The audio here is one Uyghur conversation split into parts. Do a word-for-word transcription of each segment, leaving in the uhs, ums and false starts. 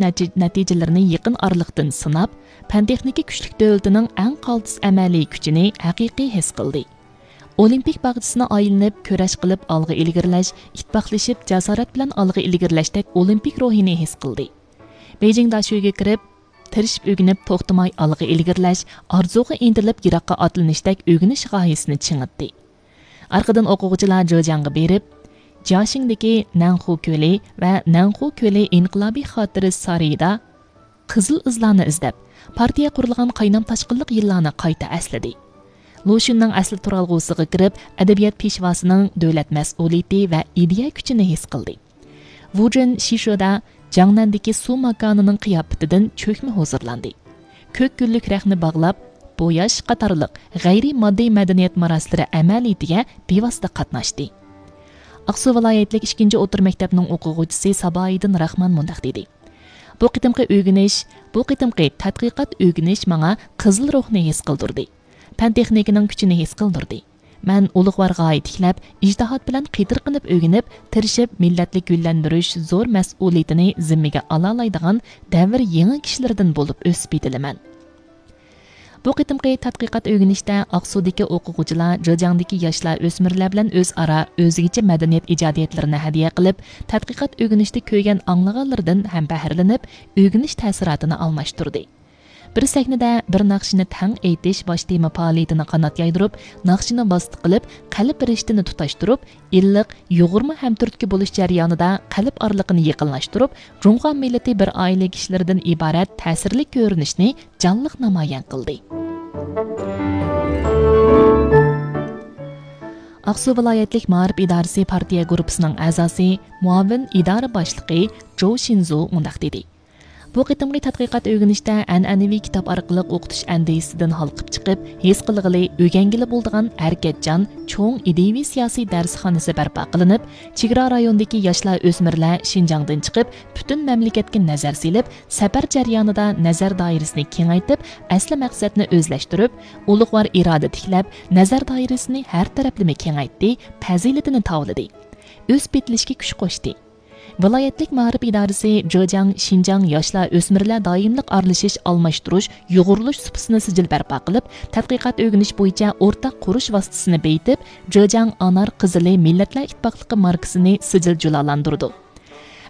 نەتىجىلىرىنى يېقىن ئارىلىقتىن سىناپ، پەن-تېخنىكا كۈچلۈك دۆلىتىنىڭ ئەڭ قالتىس ئەمەلىي كۈچىنى ھەقىقىي ھېس قىلدى. ئولىمپىك باغچىسىنى ئايلىنىپ كۈرەش قىلىپ ئالغا ئىلگىرىلەش، ئىتتىپاقلىشىپ جاسارەت بىلەن ئالغا ئىلگىرىلەشتەك ئولىمپىك روھىنى ھېس قىلدى. بېيجىڭ داشۆگە كىرىپ، تىرىشىپ ئۆگىنىپ توختىماي ئالغا ئىلگىرىلەش، ئارزۇغا ئىنتىلىپ يىراققا ئاتلىنىشتەك ئۆگىنىش غايىسىنى چىڭىتتى. ئارقىدىن ئوقۇغۇچىلار جېجياڭغا بېرىپ، جياشىڭدىكى نەنخۇ كۆلى ۋە نەنخۇ كۆلى ئىنقىلابىي خاتىرە سارىيىدا قىزىل ئىزلارنى ئىزدەپ، پارتىيە قۇرۇلغان قاينام-تاشقىنلىق يىللارنى قايتا ئەسلىدى. لۇشۈننىڭ ئەسلى تۇرالغۇسىغا كىرىپ، ئەدەبىيات پېشۋاسىنىڭ دۆلەت مەسئۇلىيىتى ۋە ئىدىيە كۈچىنى ھېس قىلدى. ۋۇجېن شىشۇدا جاڭنەندىكى سۇ ماكانىنىڭ قىياپىتىدىن چۆكمە ھۇزۇرلاندى. كۆك گۈللۈك رەختنى باغلاپ، بوياش قاتارلىق غەيرىي ماددىي مەدەنىيەت ماراسلىرى ئەمەلىيىتىگە بىۋاسىتە قاتناشتى. ئاقسۇ ۋىلايەتلىك ئىككىنچى ئوتتۇرا مەكتەپنىڭ ئوقۇغۇچىسى سابايىدىن راخمان مۇنداق دېدى: بۇ قېتىمقى ئۆگىنىش، بۇ قېتىمقى تەتقىقات ئۆگىنىش ماڭا قىزىل روھنى ھېس قىلدۇردى. پەن-تېخنىكىنىڭ كۈچىنى ھېس قىلدۇردى. مەن ئۇلۇغۋار غايە تىكلەپ، ئىجتىھات بىلەن قېتىرقىنىپ ئۆگىنىپ، تىرىشىپ مىللەتنى گۈللەندۈرۈش زور مەسئۇلىيىتىنى زىممىگە ئالالايدىغان دەۋر يېڭى كىشىلىرىدىن بولۇپ ئۆسۈپ يېتىلىمەن. بۇ قېتىمقى تەتقىقات ئۆگىنىشتە ئاقسۇدىكى ئوقۇغۇچىلار جېجياڭدىكى ياشلار ئۆسمۈرلەر بىلەن ئۆزئارا ئۆزگىچە مەدەنىيەت ئىجادىيەتلىرىنى ھەدىيە قىلىپ، تەتقىقات ئۆگىنىشتە كۆرگەن ئاڭلىغانلىرىدىن ھەم بەھرىلىنىپ، ئۆگىنىش تەسىراتىنى ئالماشتۇردى. بىر سەھنىدە بىر ناخشىنى تەڭ ئېيتىش باش تېما پائالىيىتىنى قانات يايدۇرۇپ، ناخشىنى ۋاسىتە قىلىپ، قەلب رىشتىنى تۇتاشتۇرۇپ، ئىللىق، يۇغۇرما ھەمتۈرتكە بولۇش جەريانىدا قەلب ئارىلىقىنى يېقىنلاشتۇرۇپ، جۇڭخۇا مىللىتى بىر ئائىلە كىشىلىرىدىن ئىبارەت تەسىرلىك كۆرۈنۈشنى جانلىق نامايان قىلدى. ئاقسۇ ۋىلايەتلىك مائارىپ ئىدارىسى پارتىيە گۇرۇپپىسىنىڭ ئەزاسى، مۇئاۋىن ئىدارە باشلىقى جوۋ شىنزۇ مۇنداق دېدى: بۇ قېتىمقى تەتقىقات ئۆگىنىشتە ئەنئەنىۋى كىتاب ئارقىلىق ئوقۇتۇش ئەندىزىسىدىن ھالقىپ چىقىپ، ھېس قىلغىلى، ئۆگەنگىلى بولىدىغان ھەرىكەتچان، چوڭ ئىدىيىۋى سىياسىي دەرسخانىسى بەرپا قىلىنىپ، چېگرا رايونىدىكى ياشلار ئۆسمۈرلەر شىنجاڭدىن چىقىپ، پۈتۈن مەملىكەتكە نەزەر سېلىپ، سەپەر جەريانىدا نەزەر دائىرىسىنى كېڭەيتىپ، ئەسلى مەقسەتنى ئۆزلەشتۈرۈپ، ئۇلۇغۋار ئىرادە تىكلەپ، نەزەر دائىرىسىنى ھەر تەرەپلىمە كېڭەيتتى، پەزىلىتىنى تاۋلىدى، ئۆسۈپ يېتىلىشكە كۈچ قوشتى. ۋىلايەتلىك مائارىپ ئىدارىسى جېجياڭ شىنجاڭ ياشلار ئۆسمۈرلەر دائىملىق ئارىلىشىش ئالماشتۇرۇش يۇغۇرۇلۇش سۇپىسىنى سىجىل بەرپا قىلىپ، تەتقىقات ئۆگىنىش بويىچە ئورتاق قۇرۇش ۋاسىتىسىنى بېيىتىپ، جېجياڭ ئانار قىزىلى مىللەتلەر ئىتتىپاقلىقى ماركىسىنى سىجىل جۇلالاندۇرىدۇ.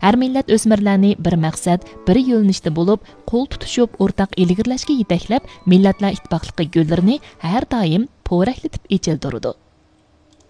ھەر مىللەت ئۆسمۈرلەرنى بىر مەقسەت، بىر يۆنىلىشتە بولۇپ، قول تۇتۇشۇپ ئورتاق ئىلگىرىلەشكە يېتەكلەپ، مىللەتلەر ئىتتىپاقلىقى گۈللىرىنى ھەر دائىم پورەكلىتىپ ئېچىلدۇرىدۇ.